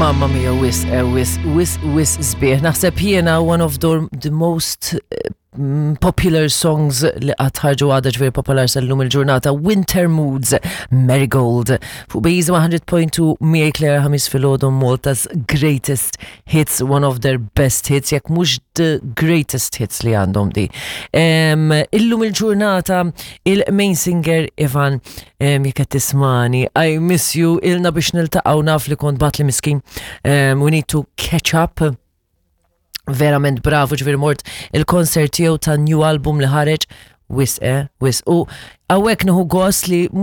Mamma mia, wisq, eh, wisq, wisq, wisq sbieħ. Naħseb jiena one of the, the most eh, popular songs li qatt ħarġu għadha ġifieri popolar sal-lum il-ġurnata Winter Moods Marigold fuq Bejz 100.2 miegħi Claire Ħamis filgħodu Malta's greatest hits, one of their best hits, jekk mhux the greatest hits li għandhom di. Illum il-ġurnata il-main singer Ivan jekk qed tismani, I miss you, ilna biex niltaqgħu naf li kont batli miskin. We need to catch up. Verament bravo ġifieri mort il-concert tiegħu ta' new album li ħareġ wisq, eh, wisq. U hawnhekk nieħu gost li